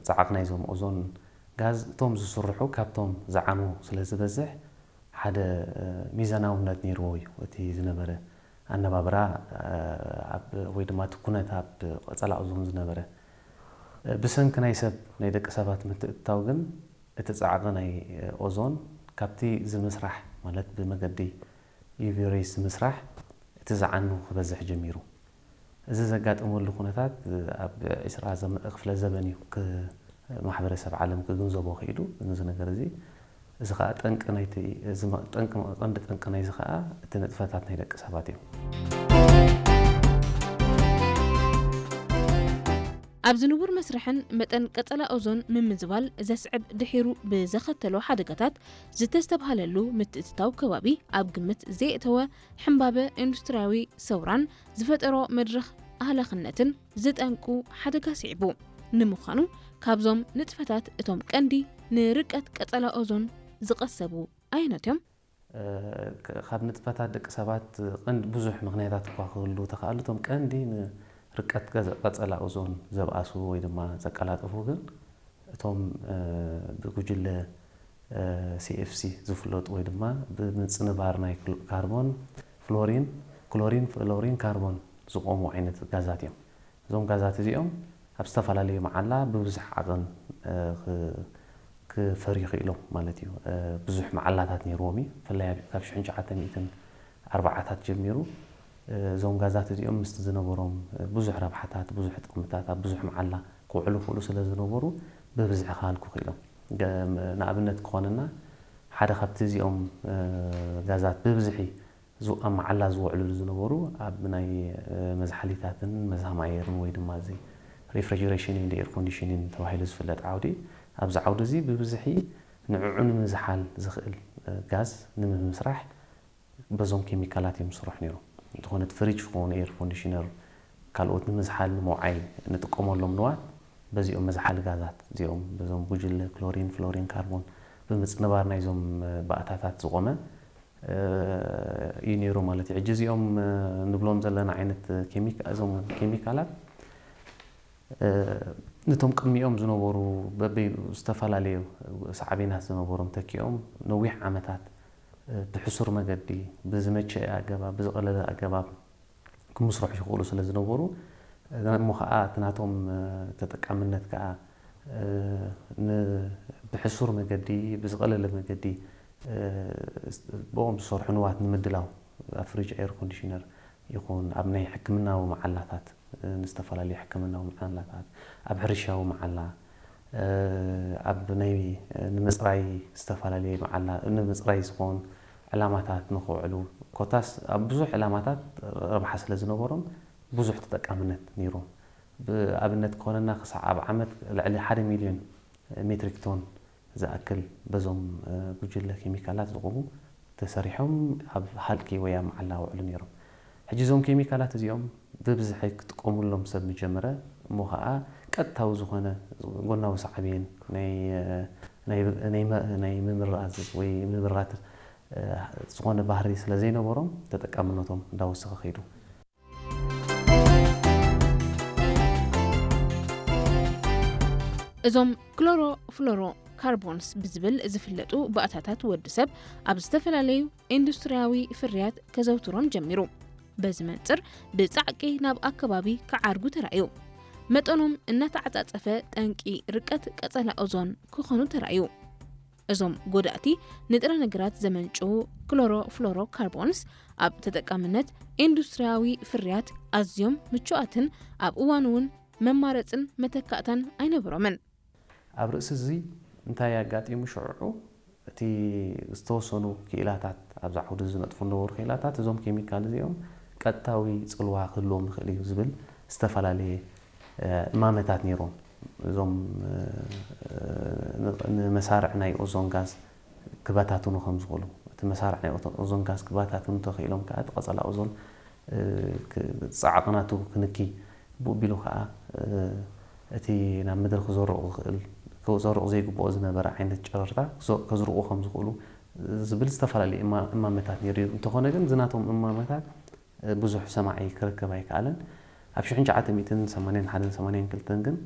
ጻዕቕ ናይዞም ኦዞን ጋዝ እቶም ዝስርሑ ካብቶም ዝዓኑ ስለ ዝበዝሕ ሓደ ሚዛናውነት ነይርዎ እዩ እቲ ዝነበረ ኣነባብራ ወይ ድማ እቲ ኩነት ኣብ ቀጸላ ኦዞን ዝነበረ። ብሰንኪ ናይ ሰብ ናይ ደቂ ሰባት ምትእትታው ግን እቲ ጻዕቒ ናይ ኦዞን ካብቲ ዝምስራሕ ማለት ብመገዲ ዩቪ ሬይስ ዝምስራሕ እቲ ዝዓኑ ክበዝሕ ጀሚሩ። እዚ ዘጋጠመሉ ኩነታት ኣብ ዒስራ ክፍለ ዘበን እዩ ማሕበረሰብ ዓለም ክግንዘቦ ክኢሉ። እዚ ነገር እዚ እዚ ከዓ ጠንቂ ናይቲ ቀንዲ ጠንቂ ናይዚ ከዓ እቲ ንጥፈታት ናይ ደቂ ሰባት እዮም። ኣብ ዝንቡር መስርሕን መጠን ቀጸላ ኦዞን ምምዝባል ዘስዕብ ድሒሩ ብዘኸተሎ ሓደጋታት ዝተስተብሃለሉ ምትእትታው ከባቢ ኣብ ግምት ዘየእተወ ሕምባበ ኢንዱስትርያዊ ሰውራን ዝፈጠሮ መድረኽ ኣህላኽነትን ዝጠንቁ ሓደጋ ስዒቡ። ንምዃኑ ካብዞም ንጥፈታት እቶም ቀንዲ ንርቀት ቀጸላ ኦዞን ዝቐሰቡ ኣየኖት እዮም? ካብ ንጥፈታት ደቂ ሰባት ቀንዲ ብዙሕ ምኽንያታት እኳ ክህሉ ተኻእሉ እቶም ቀንዲ ንርቀት ቀጸላ ኦዞን ዘብኣሱ ወይ ድማ ዘቀላጥፉ ግን እቶም ብጉጅለ CFC ዝፍለጡ ወይ ድማ ብምጽንባር ናይ ካርቦን፣ ፍሎሪን፣ ክሎሪን፣ ፍሎሪን፣ ካርቦን ዝቆሙ ዓይነት ጋዛት እዮም። እዞም ጋዛት እዚኦም ኣብ ዝተፈላለዩ መዓላ ብብዙሕ ዓቐን ክፈርዩ ክኢሎም ማለት እዩ። ብዙሕ መዓላታት ነይርዎም እዩ። ብፍላይ ካብ ሽሕን ትሽዓተ ሚእትን ኣርባዓታት ጀሚሩ እዞም ጋዛት እዚኦም ምስቲ ዝነበሮም ብዙሕ ረብሓታት፣ ብዙሕ ጥቕምታት ኣብ ብዙሕ መዓላ ክውዕሉ ክእሉ ስለ ዝነበሩ ብብዝሒ ክሃልኩ ክኢሎም። ንኣብነት ክኾነና ሓደ ካብቲ እዚኦም ጋዛት ብብዝሒ ኣብ መዓላ ዝውዕልሉ ዝነበሩ ኣብ ናይ መዝሓሊታትን መዝሃም ኣየርን ወይ ድማ እዚ refrigeration and air conditioning ተባሂሉ ዝፍለጥ ዓውዲ ኣብዚ ዓውዲ እዚ ብብዝሒ ንዕዑ ንምዝሓል ዝኽእል ጋዝ ንምምስራሕ በዞም ኬሚካላት እዮም ዝስርሑ ነይሮም። እንተኾነ እቲ ፍሪጅ ክኸውን ኤር ኮንዲሽነር ካልኦት ንምዝሓል ንምውዓይ ንጥቀመሎም ንዋት በዚኦም መዝሓሊ ጋዛት እዚኦም በዞም ጉጅለ ክሎሪን ፍሎሪን ካርቦን ብምጽንባር ናይዞም ባእታታት ዝቆመ እዩ ነይሩ ማለት እዩ። ሕጂ እዚኦም ንብሎም ዘለና ዓይነት እዞም ኬሚካላት ነቶም ቅድሚኦም ዝነበሩ በበይኑ ዝተፈላለዩ ሳዕቤናት ዝነበሮም ተኪኦም ነዊሕ ዓመታት ብሕሱር መገዲ ብዝመቸአ ኣገባብ ብዝቐለለ ኣገባብ ክምስርሑ ይኽእሉ ስለ ዝነበሩ እሞ ከዓ እቲ ናቶም ተጠቃምነት ከዓ ብሕሱር መገዲ ብዝቐለለ መገዲ ብኦም ዝሰርሑ ንዋት ንምድላው ኣብ ፍሪጅ ኤር ኮንዲሽነር ይኹን ኣብ ናይ ሕክምናዊ መዓላታት ንዝተፈላለዩ ሕክምናዊ መዓላታት ኣብ ሕርሻዊ መዓላ ኣብ ናይ ንምፅራይ ዝተፈላለየ መዓላ ንምፅራይ ዝኾን ዕላማታት ንኽውዕሉ ኮታስ ኣብ ብዙሕ ዕላማታት ረብሓ ስለ ዝነበሮም ብዙሕ ተጠቃምነት ነይሮም። ብኣብነት ክኾነና ክሳዕ ኣብ ዓመት ልዕሊ ሓደ ሚልዮን ሜትሪክ ቶን ዝኣክል በዞም ጉጅለ ኬሚካላት ዝቑሙ ተሰሪሖም ኣብ ሃልኪ ወይ ኣብ መዓላ ውዕሉ ነይሮም። ሕጂ እዞም ኬሚካላት እዚኦም ብብዝሒ ክጥቀሙሎም ሰብ ምጀመረ እሞ ከዓ ቀጥታዊ ዝኾነ ጎናዊ ሳዕቤን ናይ ምምራዝ ወይ ምምራት ዝኾነ ባህሪ ስለ ዘይነበሮም ተጠቃምነቶም እንዳወሰኸ ከይዱ። እዞም ክሎሮ ፍሎሮ ካርቦንስ ብዝብል ዝፍለጡ ባእታታት ወዲ ሰብ ኣብ ዝተፈላለዩ ኢንዱስትርያዊ ፍርያት ከዘውትሮም ጀሚሩ። በዚ መንፅር ብፃዕቂ ናብ ኣከባቢ ክዓርጉ ተራእዩ። መጠኖም እናተዓፃፀፈ ጠንቂ ርቀት ቀፀላ ኦዞን ክኾኑ ተራእዩ። እዞም ጎዳእቲ ንጥረ ነገራት ዘመንጭዉ ክሎሮ ፍሎሮ ካርቦንስ ኣብ ተጠቃምነት ኢንዱስትርያዊ ፍርያት ኣዝዮም ምቹኣትን ኣብ እዋን እውን መማረፅን መተካእታን ኣይነበሮምን። ኣብ ርእሲ እዚ እንታይ ኣጋጢሙ ሽዑዑ እቲ ዝተወሰኑ ክኢላታት ኣብዚ ዓውዲ ዝነጥፉ ዝነበሩ ክኢላታት እዞም ኬሚካል እዚኦም ቀጥታዊ ፅልዋ ክህልዎም ይኽእል እዩ ዝብል ዝተፈላለየ እማመታት ነይሮም። እዞም ንመሳርዕ ናይ ኦዞን ጋዝ ክበታትኑ ከም ዝኽእሉ እቲ መሳርዕ ናይ ኦዞን ጋዝ ክበታትኑ ተኽኢሎም ከዓ እቲ ቀፀላ ኦዞን ፃዕቕናቱ ክንኪ ብኡ ቢሉ ከዓ እቲ ናብ ምድሪ ክዘርቑ ዝኽእል ክዘርቑ ዘይግብኦ ዝነበረ ዓይነት ጨረርታ ከዝርቑ ከም ዝኽእሉ ዝብል ዝተፈላለዩ እማመታት ነይሩ እዩ። እንተኾነ ግን ዝናቶም እማመታት ብዙሕ ሰማዒ ክረከብ ኣይከኣለን። ኣብ ሽሕን ትሽዓተ ሚእትን ሰማንያን ሓደን ሰማንያን ክልተን ግን